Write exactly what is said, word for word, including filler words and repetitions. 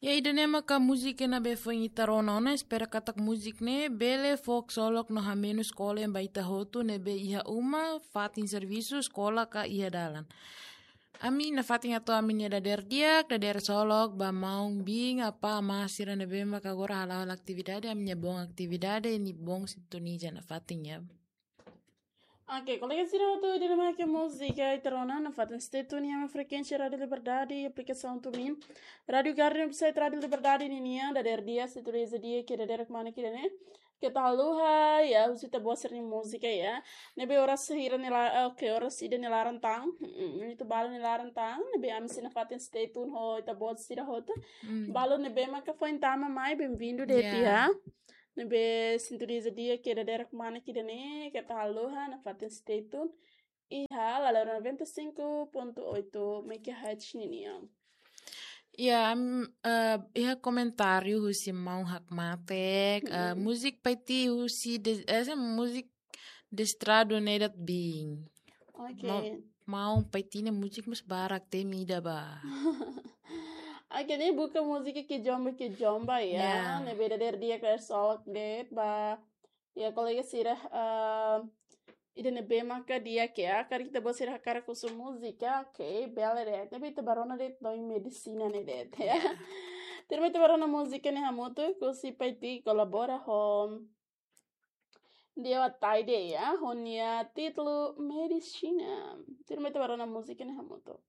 Ya, ida-ne'e maka múzika ne'ebé foin ita rona ona, espera katak múzika ne'e bele fó ksolok no hamenus kole ba ita hotu ne'ebé iha uma, fatin servisu, eskola ka iha dalan. Ami nafatin atu ami-nia dadeer di'ak, dadeer ksolok ba maun-biin, apá, amá sira ne'ebé maka agora hala'o hela atividade, ami-nia boot atividade, nia boot sintoniza nafatin ya. Oke, kolega sira hotu, ida-ne'e maka múzika ita rona nafatin stay tune iha frekuénsia Rádiu Liberdade, aplikasaun TuneIn, Rádiu Garden, website Rádiu Liberdade ninian, dadeer di'ak, sintoniza di'ak, ke dadeer kmane ke ida-ne'e. Keta haluha, ya, husi ita-boot sira-nia múzika, ya. Ne'ebé oras hira nia la-, oke, oras ida nia laran tan. Mm, ita balu nia laran tan, ne'ebé ami sei nafatin stay tune ho ita-boot sira hotu. Mm. Balu ne'ebé maka foin tama mai, bem-vindu de'it, ya. Ne'ebé sintoniza di'ak ke dadeer kmane ke ida-ne'e, keta haluha, nafatin stay tune. Iha Lala noventa e cinco ponto oito megahertz ninian. Ya, am, eh, iha komentáriu husi maun hakmatek, eh, Mm-mm. múzika Paiti husi de, eh, se múzika Destradu ne'e de'it biin. Oke. Mau, maun Paiti nia múzika mós barak, temi ida ba. Oke, ne'e buka múzika Kizomba Kizomba, ya. Ya. Ne'ebé dadeer di'ak, dadeer ksolok de'it ba. Ya, kolega sira, eh, ida ne'ebé maka di'ak, ya, karik ita-boot sira hakarak husu múzika, oke, bele de'it. Ne'ebé ita bá rona de'it Doin Medisina ne'e de'it, ya. Ya. Tuirmai ita bá rona múzika ne'e hamutuk, husi Paiti kolabora ho Deo Ataide, ya, ho nia títulu Medisina. Tuirmai ita bá rona múzika ne'e hamutuk.